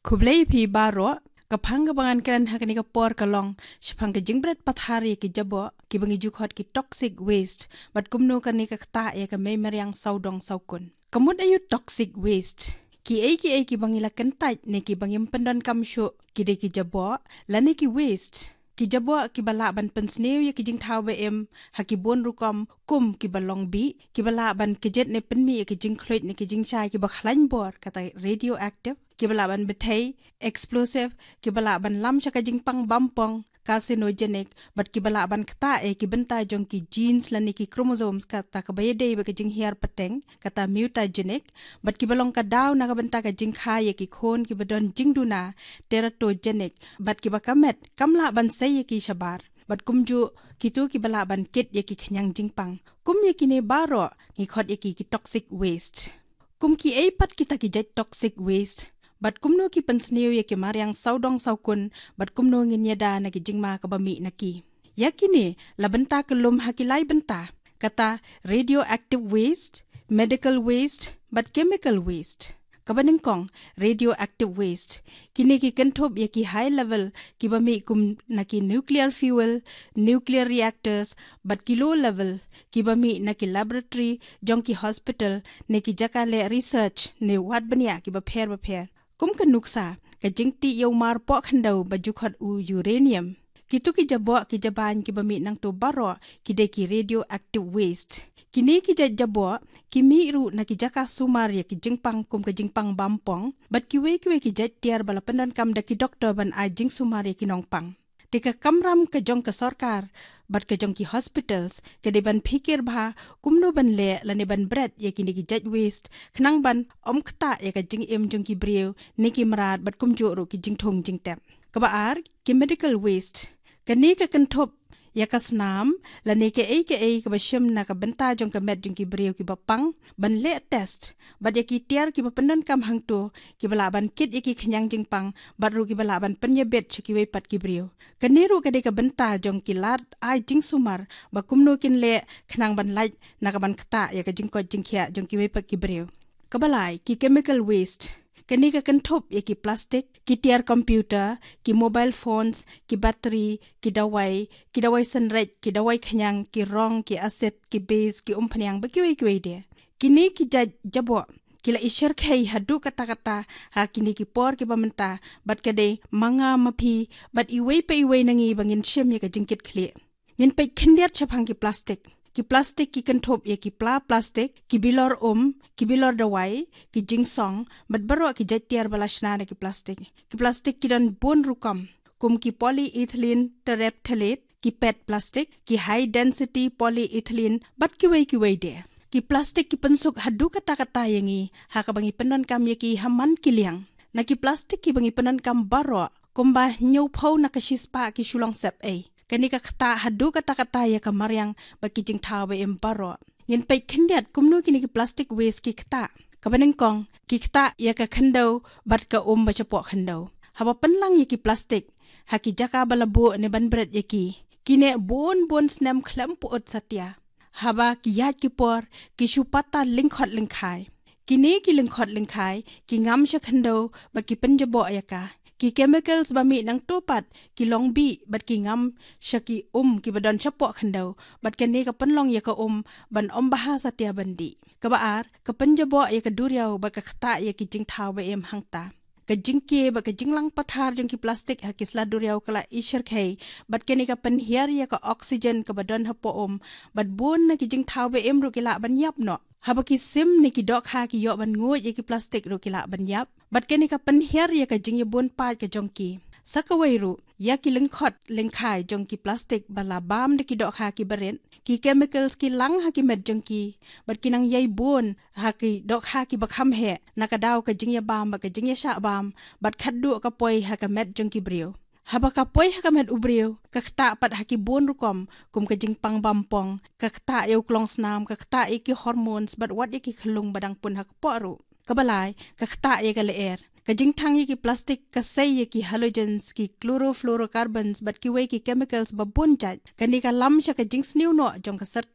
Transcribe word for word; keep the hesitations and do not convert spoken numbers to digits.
Khublei phi baroh. Ka phang kaba ngan kren ha kane ka por ka long shaphang ka jingbret pathar ïa ki jaboh kiba ngi ju khot ki toxic waste, bad kumno kane ka ktah ïa ka mei mariang sawdong sawkun. Ka mut aïu toxic waste? Kiei kiei kiba ngi la kyntait ne kiba ngim pyndonkam shuh, ki dei ki jaboh lane ki waste. Ki jaboh kiba lah ban pynsniew ïa ki jingthaw ba im ha ki bun rukom, kum kiba long bih, kiba lah ban kjit ne pynmih ïa ki jingkhluit ne ki jingshai kiba khlaiñ bor, kata radioactive, kiba lah ban bthei, explosive, kiba lah ban lam sha ka jingpang bampong, carcinogenic, bad kiba lah ban ktah ïa ki bynta jong ki genes lane ki chromosomes, kata kaba ïadei bad ka jinghiar pateng, kata mutagenic, bad kiba long ka daw na ka bynta ka jingkha ïa ki khun kiba don jingduna, teratogenic, bad kiba ka met kam lah ban sei ïa ki shabar, bad kumjuh kito kiba lah ban kit ïa ki khñiang jingpang. Kum ïa kine baroh ngi khot ïa ki ki toxic waste. Kum kiei pat kita ki jait toxic waste, bad kumno ki pynsniew ïa ki mariang sawdong sawkun, bad kumno ngin ïada na ki jingma kaba mih na ki? Ïa kine la bynta ka lum ha ki lai bynta, kata radioactive waste, medical waste, bad chemical waste. Kaba nyngkong, radioactive waste. Kine ki kynthup ïa ki high level kiba mih kum na ki nuclear fuel, nuclear reactors, bad ki low level kiba mih na ki laboratory jong ki hospital ne ki jaka leh research ne wat bniah kiba pher bapher. Kum ka nuksa, ka jingtih ïa u mar poh khyndew ba ju khot u uranium. Kito ki jaboh ki jabain kiba mih nangto baroh ki dei ki radioactive waste. Kine ki jait jaboh ki mih ruh na ki jaka sumar ïa ki jingpang kum ka jingpang bampong, bad kiwei kiwei ki jait tiar ba la pyndonkam da ki doktor ban ai jingsumar ïa ki nongpang. Te ka kamram ka jong ka sorkar bad ka jong ki hospitals ka dei ban phikir bha kumno ban leh lane ban bret ïa kine ki jait waste, khnang ban ym ktah ïa ka jingim jong ki briew ne ki mrad, bad kumjuh ruh ki jingthung jingtep. Kaba ar, ki medical waste. Kane ka kynthup ïa ka snam lane kaei kaei kaba shim na ka bynta jong ka met jong ki briew kiba pang, ban leh test, bad ïa ki tiar kiba pyndonkam hangto kiba lah ban kit ïa ki khñiang jingpang, bad ruh kiba lah ban pynïabit sha kiwei pat ki briew. Kane ruh ka dei ka bynta jong ki lad ai jingsumar ba kumno kin leh khnang ban lait na ka ban ktah ïa ka jingkoit jingkhiah jong kiwei pat ki briew. Kaba lai, ki chemical waste. Kane ka kynthup ïa ki plastic, ki tiar computer, ki mobile phones, ki battery, ki dawai, ki dawai synreit, ki dawai khñiang, ki rong, ki acid, ki base, ki umphniang, bad kiwei kiwei de. Kine ki jait jaboh ki la ishyrkhei haduh katta katta ha kine ki por kiba mynta, bad ka dei ma nga ma phi bad iwei pa iwei na ngi ba ngin shim ïa ka jingkitkhlieh. Ngin peit khyndiat shaphang ki plastic. Ki plastic ki kynthup ïa ki pla plastic, ki bilor um, ki bilor dawai, ki jingsong, bad baroh ki jait tiar ba la shna na ki plastic. Ki plastic ki don bun rukom, kum ki polyethylene terephthalate, ki pet plastic, ki high density polyethylene, bad kiwei kiwei de. Ki plastic ki pynsuk haduh katta katta ïa ngi ha kaba ngi pyndonkam ïa ki ha man ki liang. Na ki plastic kiba ngi pyndonkam baroh, kumba hynñiewphew na ka shispah ki shu long sepei. Kane ka ktah haduh katta katta ïa ka mariang bad ki jingthaw ba im baroh. Ngin peit khyndiat kumno kine ki plastic waste ki ktah. Kaba nyngkong, ki ktah ïa ka khyndew bad ka um ba shapoh khyndew. Haba pynlang ïa ki plastic ha ki jaka ba la buh ne ban bret ïa ki, ki neh bun bun snem khlem pyut satia. Haba ki ïaid ki por, ki shu pata lyngkhot lyngkhai. Kine ki lyngkhot lyngkhai ki ngam sha khyndew bad ki pynjaboh ïa ka. Ki chemicals ba mih nangto pat ki long bih bad ki ngam sha ki um kiba don shapoh khyndew, bad kane ka pynlong ïa ka um ban ym bha satia ban dih. Kaba ar, ka pynjaboh ïa ka duriaw bad ka ktah ïa ki jingthaw ba im hangta. Ka jingkiew bad ka jinglang pathar jong ki plastic ha ki sla duriaw ka la ishyrkhei, bad kane ka pynhiar ïa ka oxygen kaba don hapoh um, bad bun na ki jingthaw ba im ruh ki lah ban ïap noh. Haba ki sim ne ki dohkha ki ïoh ban nguid ïa ki plastic ruh ki lah ban ïap, bad kane ka pynhiar ïa ka jingïabun paid ka jong ki. Sa kawei ruh, ïa ki lyngkhot lyngkhai jong ki plastic ba la bam da ki dohkha kiba rit, ki chemicals ki lang ha ki met jong ki, bad ki nang ïai bun ha ki dohkha kiba kham heh, na ka daw ka jingïabam bad ka jingïashah bam, bad khatduh ka poi ha ka met jong ki briew. Haba ka poi ha ka met u briew, ka ktah pat ha ki bun rukom, kum ka jingpang bampong, ka ktah ïa u klongsnam, ka ktah ïa ki hormones, bad wat ïa ki khyllung ba dang pun ha kpoh ruh. Kaba lai, ka ktah ïa ka lyer. Ka jingthang ïa ki plastic ka sei ïa ki halogens, ki chlorofluorocarbons, bad kiwei ki chemicals ba bun jait. Kane ka lam sha ka jingsniew noh jong ka serta